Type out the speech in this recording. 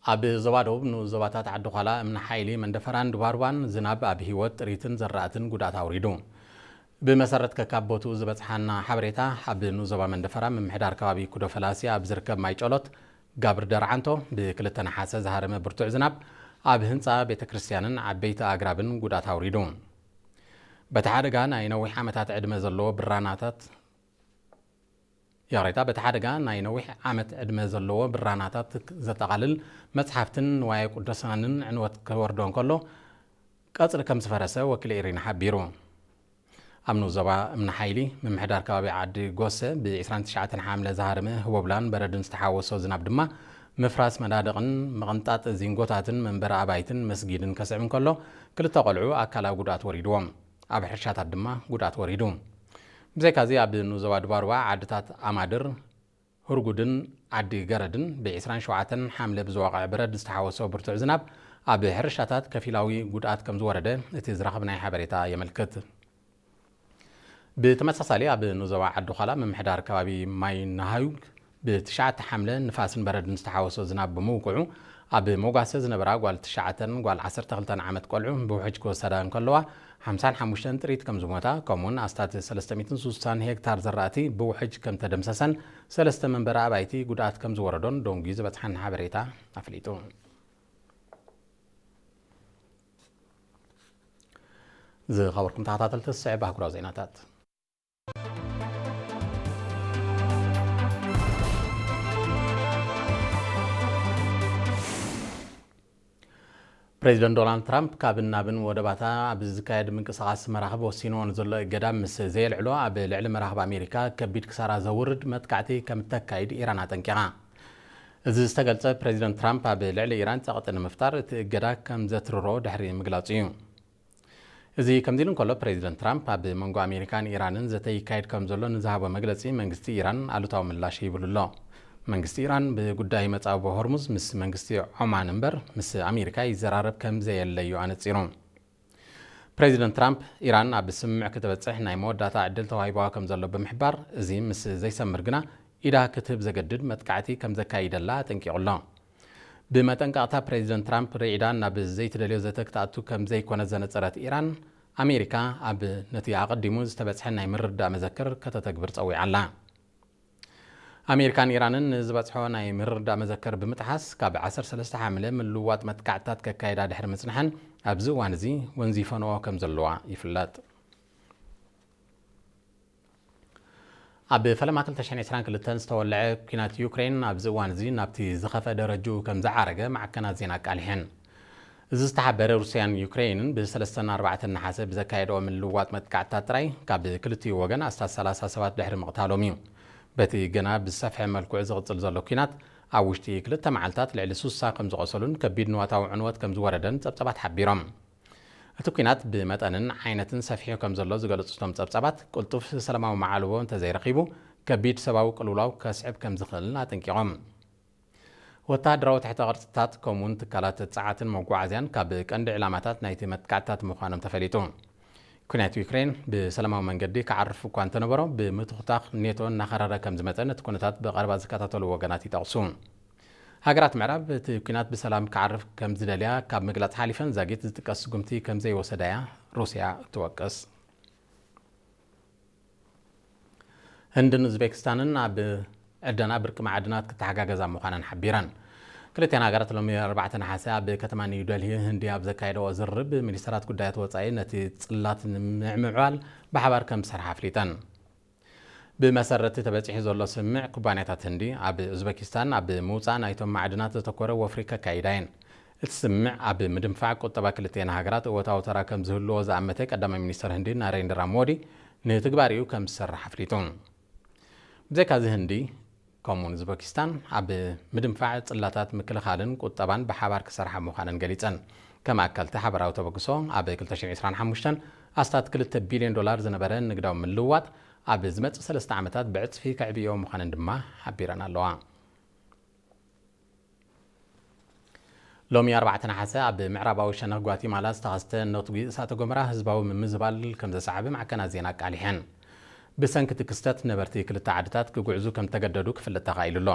ኣብ ዞባ ደቡብ ንኡስ ዞባታት ዓዲ ዃላ፣ እምኒ ሓይሊ፣ መንደፈራን ድባርባን ዝናብ ኣብ ህይወት ጥሪትን ዘራእትን ጉድኣት ኣውሪዱ። ብመሰረት ከካብ ቦትኡ ዝበጽሓና ሓበሬታ፣ ኣብ ንኡስ ዞባ መንደፈራ ምምሕዳር ከባቢ ኩዶ ፈላሲ ኣብ ዝርከብ ማይ ጨሎት ጋብር ደርዓንቶ ብክልተ ነሓሰ ዝሃረመ ብርቱዕ ዝናብ ኣብ ህንጻ ቤተ ክርስቲያንን ዓበይቲ ኣግራብን ጉድኣት ኣውሪዱ። በቲ ሓደጋ ናይ ነዊሕ ዓመታት ዕድመ ዘለዎ ብራናታት ይቕሬታ፣ በቲ ሓደጋ ናይ ነዊሕ ዓመት ዕድመ ዘለዎ ብራናታት ዘጠቓልል መጽሓፍትን ንዋየ ቅዱሳንን ዕንወት ክወርዶ እንከሎ፣ ቀጽሪ ከም ዝፈረሰ ወኪል ኤሪና ሓቢሩ። ኣብ ንኡስ ዞባ እምኒ ሓይሊ ምምሕዳር ከባቢ ዓዲ ጎሰ ብ ዕስራን ትሽዓተን ሓምለ ዝሃረመ ህቦብላን በረድን ዝተሓወሶ ዝናብ ድማ ምፍራስ መናድቕን ምቕንጣጥ ዚንጎታትን መንበሪ ኣባይትን መስጊድን ከስዕብ እንከሎ፣ ክልተ ቆልዑ ኣካላዊ ጉድኣት ወሪድዎም። ኣብ ሕርሻታት ድማ ጉድኣት ወሪዱ። ብዘይካዚ ኣብ ንኡስ ዞባ ድባርባ ዓድታት ኣማድር፣ ህርጉድን ዓዲ ገረድን ብ ዕስራን ሸውዓተን ሓምለ ብዝወቕዐ በረድ ዝተሓወሶ ብርቱዕ ዝናብ ኣብ ሕርሻታት ከፊላዊ ጉድኣት ከም ዝወረደ እቲ ዝረኸብናዮ ሓበሬታ የመልክት። ብተመሳሳሊ ኣብ ንኡስ ዞባ ዓዲ ዃላ ምምሕዳር ከባቢ ማይ ናሃዩግ ብትሽዓተ ሓምለ ንፋስን በረድን ዝተሓወሶ ዝናብ ብምውቅዑ ኣብ መጓሰ ዝነበራ ጓል ትሽዓተን ጓል ዓሰርተ ክልተን ዓመት ቆልዑ ብውሕጅ ክወሰዳ እንከለዋ ሓምሳን ሓሙሽተን ጥሪት ከም ዝሞታ ከምኡውን ኣስታት ሰለስተ ሚእትን ስሳን ሄክታር ዘራእቲ ብውሕጅ ከም ተደምሰሰን ሰለስተ መንበሪ ኣባይቲ ጉድኣት ከም ዝወረዶን ዶንጊ ዝበጽሓን ሓበሬታ ኣፍሊጡ። ዝኸበርኩም ተኸታተልቲ፣ ዝስዕብ ኣህጉራዊ ዜናታት። ፕሬዚደንት ዶናልድ ትራምፕ ካብን ናብን ወደባታ ኣብ ዝካየድ ምንቅስቓስ መራኽብ ወሲንዎ ንዘሎ እገዳ ምስ ዘየልዕሎ ኣብ ልዕሊ መራኽብ ኣሜሪካ ከቢድ ክሳራ ዘውርድ መጥቃዕቲ ከም እተካይድ ኢራን ኣጠንቂቓ። እዚ ዝተገልጸ ፕሬዚደንት ትራምፕ ኣብ ልዕሊ ኢራን ጸቕጢ ንምፍጣር እቲ እገዳ ከም ዘትርሮ ድሕሪ ምግላጹ እዩ። እዚ ከምዚ ኢሉ እንከሎ፣ ፕሬዚደንት ትራምፕ ኣብ መንጎ ኣሜሪካን ኢራንን ዘተ ይካየድ ከም ዘሎ ንዝሃቦ መግለጺ መንግስቲ ኢራን ኣሉታዊ ምላሽ ሂብሉ ኣሎ። መንግስቲ ኢራን ብጉዳይ መጻብቦ ሆርሙዝ ምስ መንግስቲ ዖማን እምበር ምስ ኣሜሪካ ይዘራረብ ከም ዘየለ እዩ ኣነጺሩ። ፕሬዚደንት ትራምፕ ኢራን ኣብ ስምምዕ ክትበጽሕ ናይ መወዳእታ ዕድል ተዋሂብዋ ከም ዘሎ ብምሕባር፣ እዚ ምስ ዘይሰምር ግና ኢዳ ክትህብ ዘገድድ መጥቃዕቲ ከም ዘካይደላ ኣጠንቂቑ ኣሎ። ብመጠንቀቕታ ፕሬዚደንት ትራምፕ ርዒዳ ናብ ዘይትደልዮ ዘተ ክትኣቱ ከም ዘይኮነ ዘነጸረት ኢራን፣ ኣሜሪካ ኣብ ነቲ ኣቐዲሙ ዝተበጽሐ ናይ ምርድዳእ መዘክር ከተተግብር ጸዊዓ ኣላ። ኣሜሪካን ኢራንን ንዝበጽሖ ናይ ምርድዳእ መዘክር ብምጥሓስ ካብ ዓሰርተ ሰለስተ ሓምለ ምልውዋጥ መጥቃዕትታት ከካይዳ ድሕሪ ምጽንሐን ኣብዚ እዋን እዚ ወንዚፈንኦ ከም ዘለዋ ይፍለጥ። ኣብ ፈለማ ክልተ ሽሕን ዕስራን ክልተን ዝተወልዐ ኲናት ዩክሬን ኣብዚ እዋን እዚ ናብቲ ዝኸፍአ ደረጅኡ ከም ዝዓረገ ማዕከናት ዜና ኣቃሊሐን። እዚ ዝተሓበረ ሩስያን ዩክሬንን ብሰለስተን ኣርባዕተን ነሓሰ ብዘካየድኦ ምልውዋጥ መጥቃዕትታት ጥራይ ካብ ክልቲኡ ወገን ኣስታት ሰላሳ ሰባት ድሕሪ ምቕታሎም እዩ። በቲ ገና ብዝሰፍሐ መልክዑ ዝቕጽል ዘሎ ኲናት ኣብ ውሽጢ ክልተ መዓልታት ልዕሊ ሱሳ ከም ዝቖሰሉን ከቢድ ንዋታዊ ዕንወት ከም ዝወረደን ጸብጸባት ሓቢሮም። እቲ ኲናት ብመጠንን ዓይነትን ሰፊሑ ከም ዘሎ ዝገለጹ እቶም ጸብጻባት፣ ቅልጡፍ ሰላማዊ መዓልቦ እንተዘይረኺቡ ከቢድ ሰብኣዊ ቅልውላው ከስዕብ ከም ዝኽእል ኣጠንቂቖም። ወተሃደራዊ ትሕተ ቅርጽታት ከምኡውን ትካላት ጸዓትን መጓዓዝያን ካብ ቀንዲ ዕላማታት ናይቲ መጥቃዕትታት ምዃኖም ተፈሊጡ። ኲናት ዩክሬን ብሰላማዊ መንገዲ ክዓርፍ እኳ እንተነበሮ፣ ብምትኹታኽ ኔቶ እናኸረረ ከም ዝመጸ ነቲ ኩነታት ብቐረባ ዝከታተሉ ወገናት ይጠቕሱ። ሃገራት ምዕራብ እቲ ኲናት ብሰላም ክዓርፍ ከም ዝደልያ ካብ ምግላጽ ሓሊፈን ዛጊት ዝጥቀስ ስጉምቲ ከም ዘይወሰዳያ ሩስያ ትወቅስ። ህንድን ኡዝቤክስታንን ኣብ ዕደና ብርቂ መዓድናት ክተሓጋገዛ ምዃነን ሓቢረን። ክልቲኣን ሃገራት ሎሚ ኣርባዕተ ነሓሰ ኣብ ከተማ ኒው ደልሂ ህንዲ ኣብ ዘካየደኦ ዝርርብ፣ ሚኒስተራት ጉዳያት ወጻኢ ነቲ ጽላት ንምዕምባል ብሓባር ከም ዝሰርሓ ኣፍሊጠን። ብመሰረት እቲ ተበጺሑ ዘሎ ስምምዕ፣ ኩባንያታት ህንዲ ኣብ ኡዝበኪስታን ኣብ ምውጻእ ናይቶም ማዕድናት ዘተኮረ ወፍሪ ከካይዳ እየን። እቲ ስምምዕ ኣብ ምድንፋዕ ቁጠባ ክልቲአን ሃገራት እወታዊ ተራ ከም ዝህልዎ ዝኣመተ ቀዳማይ ሚኒስተር ህንዲ ናሬንድራ ሞዲ፣ ንትግባሪኡ ከም ዝሰርሕ ኣፍሊጡ። ብዘይካዚ ህንዲ ከምኡውን ኡዝበኪስታን ኣብ ምድንፋዕ ጽላታት ምክልኻልን ቁጠባን ብሓባር ክሰርሓ ምዃነን ገሊጸን። ከም ኣካልቲ ሓበራዊ ተበግሶ ኣብ ክልተ ሽሕን ዕስራን ሓሙሽተን ኣስታት ክልተ ቢልዮን ዶላር ዝነበረ ንግዳዊ ምልውዋጥ ኣብ ዝመጽእ ሰለስተ ዓመታት ብዕጽፊ ከዕብዮ ምዃነን ድማ ሓቢረን ኣለዋ። ሎሚ ኣርባዕተ ነሓሰ ኣብ ምዕራባዊ ሸነኽ ጓቲማላ ዝተኸስተ ነትጒ እሳተ ጎመራ ህዝባዊ ምምዝባል ከም ዘሰዓበ ማዕከናት ዜና ኣቃሊሐን። ብሰንኪ እቲ ክስተት ነበርቲ ክልተ ዓድታት ክጉዕዙ ከም ዝተገደዱ ክፍለጥ ተኻኢሉ ኣሎ።